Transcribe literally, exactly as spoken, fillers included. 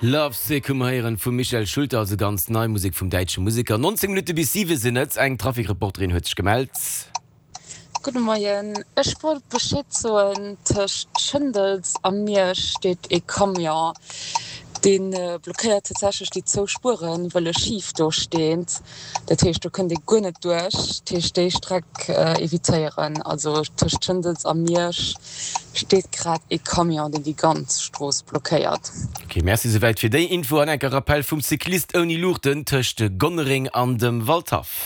Love Sick hu mer héieren vum Michael Schulte, also ganz nei Musek vum däitsche Museker. neunzéng Minutte bis siwe sinn et. Eng Trafikreporterin huet sech gemellt. Gudde Moien, ech wollt Bescheed soen, tëscht Schëndels a Miersch steet ee Camion, dee blockéiert tatsächlech déi zwou Spueren, wëll e schif do steet. Dat heescht, do kënnt ee guer net duerch. Dat heescht, déi Streck evitéieren. Also tëscht Schëndels a Miersch steet grad ee Camion, deen déi ganz Strooss blockéiert. Ok, merci souwäit fir déi Info an enker Rappel vum Cyclist ouni Luuchten tëscht Gonnereng an dem Waldhaff.